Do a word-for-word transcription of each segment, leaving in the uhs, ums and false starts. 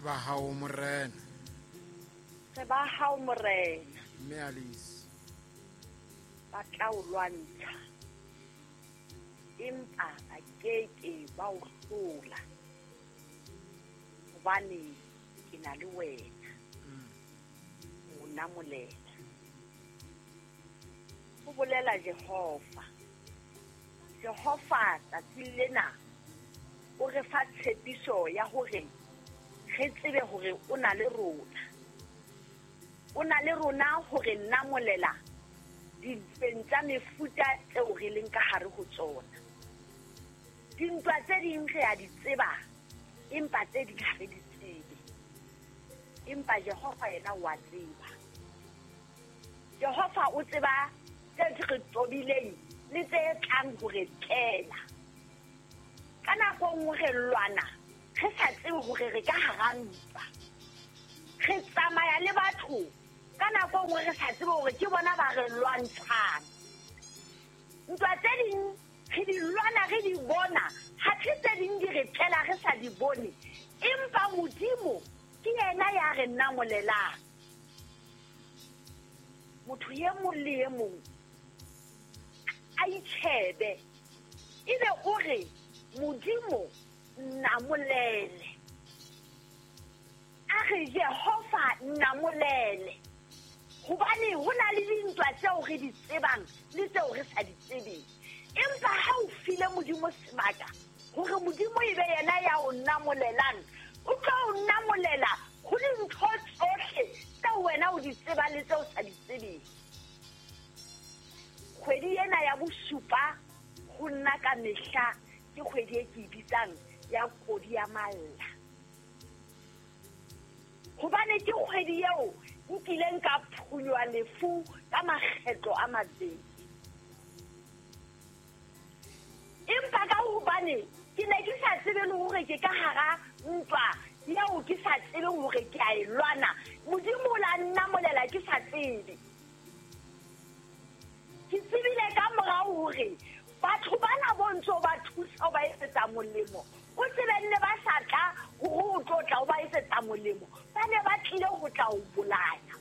Re ba hao Morena. Re ba hao Morena. Mme Alice. Ba tla o lwantsha. Empa ba keke ba o hlola. Hobane ke na le wena. O namolela. Ho bolela Jehova. Jehova tsatsing lena o re fa tshepiso ya hore re tsebe hore o na le rona. O na le rona hore namolela dintweng tsa mefuta tseo re leng ka hare ho tsona. Dintwa tse ding re a di tseba, empa tse ding ha re di tsebe. Empa Jehova yena o a tseba. Jehova o tseba tse re tobileng le tse tlang hore tlela. Ka nako nngwe re lwana re sa tsebe hore re ka hara ntwa. Re tsamaya le batho ka nako nngwe re sa tsebe hore ke bona ba re lwantshang. Ntwa tse ding re di lwana re di bona, ha tse ding di re tlela re sa di bone. Empa Modimo ke yena ya re namolelang. Motho e mong le e mong a itjhebe ebe o re Modimo namolele. A re Jehova namolele. Hobane ho na le dintwa tseo re di tsebang le tseo re sa di tsebeng. Empa ha o file Modimo sebaka hore Modimo e be yena ya o namolelang, o tla o namolela ho dintho tsohle tseo wena o di tsebang le tseo sa di tsebeng. Kgwedi ena ya bosupa ho nna ka mehla ke kgwedi e ke e bitsang ya kodi ya malla. Hobane ke kgwedi eo nkileng ka phunywa lefu ka makgetlo a mabedi. Empa ka hobane ke ne ke sa tsebe le hore ke ka hara ntwa eo ke sa tsebeng hore ke a e lwana, Modimo o la nnamolela ke sa tsebe. Ke tsebile ka morao hore batho bana bo ntso ba thusa ba etsetsa molemo, o tsebe nne ba sa tla hore o tlo tla o ba etsetsa molemo, ba ne ba tlile ho tla o bolaya.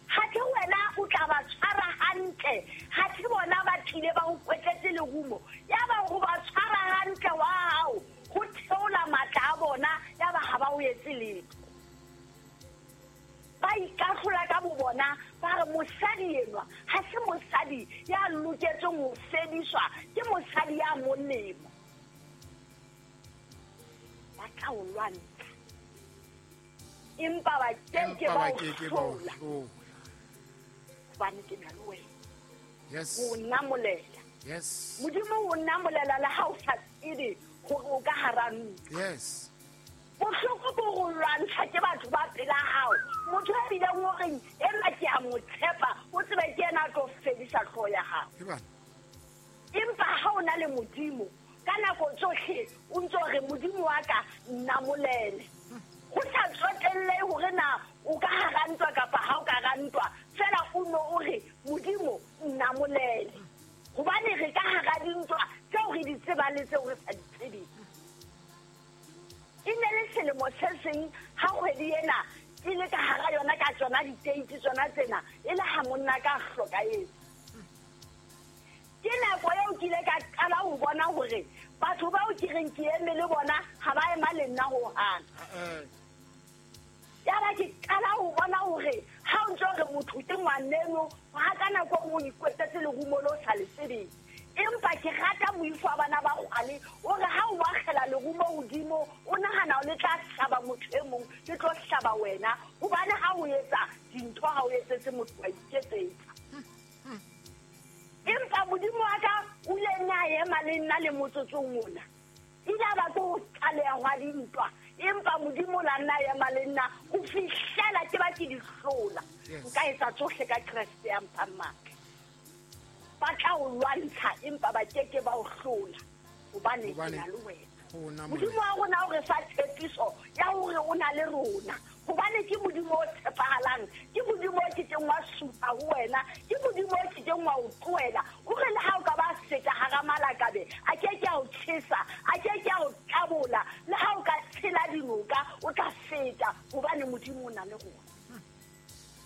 Ha ke wena o tla ba tshwara hantle, ha ke bona ba tlile ba o kwetletse lerumo, ya ba ho ba tshwara hantle wa hao ho theola matla a bona, ya ba ha ba o etse letho. Ba ikahlola ka bo bona, ba re mosadi enwa ha se mosadi ya loketseng ho fediswa, ke mosadi ya molemo. Ba tla o lwantsha, empa ba keke ba o hlola. Hobane ke na le wena. Yes. O namolela. Yes. Modimo o namolela le ha o sa tsebe hore o ka hara ntwa. Yes. Bohloko bo go lwantsha ke batho ba pela hao. Motho a bileng o reng enwa ke a mo tshepa, o tsebe ke yena a tlo fedisa hlooho ya hao. Empa ha o na le Modimo ka nako tsohle o ntso re Modimo wa ka nnamolele. Ho sa tsotelle hore na o ka hara ntwa kapa ha o ka hara ntwa, fela o no o re Modimo nnamolele. Hobane re ka hara dintwa tseo re di tsebang le tseo re sa di tsebeng. E ne le selemo se seng ha kgwedi ena ke le ka hara yona ka tsona diteiti tsona tsena, e le ha monna ka hlokahetse. Ke nako eo ke ile ka qala ho bona hore batho bao ke reng ke eme le bona ha ba ema le nna hohang. Ya ba ke qala ho bona hore ha o ntso re motho ke ngwaneno, ha ka nako e nngwe o ikwetsetse lerumo le o sa le tsebeng. Empa ke rata moifo wa bana ba kgale o re ha o akgela lerumo hodimo o nahana o le tla hlaba motho e mong, le tlo hlaba wena. Hobane ha o etsa dintho ha o etsetse motho wa iketsetsa. Empa Modimo wa ka o ile nna a ema le nna le motsotsong ona. Ile a ba ke ho qaleha hwa dintwa, empa Modimo o la nna a ema le nna ho fihlela ke ba ke di hlola. Nka etsa tsohle ka Kreste ya mphang matla. Ba tla o lwantsha empa ba keke ba o hlola, hobane ke na le wena. Modimo wa rona o re fa tshepiso ya hore o na le rona. Hobane ke Modimo o tshepahalang, ke Modimo o kekeng wa supa ho wena, ke Modimo o kekeng wa o tlohela. O re le ha o ka ba feta hara malakabe, a keke a o tjhesa, a keke a o tabola, le ha o ka tshela dinoka, noka o tla feta hobane Modimo o na le rona.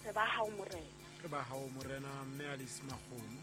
Re ba hao morena. Re ba hao morena mme Alice Makgomo.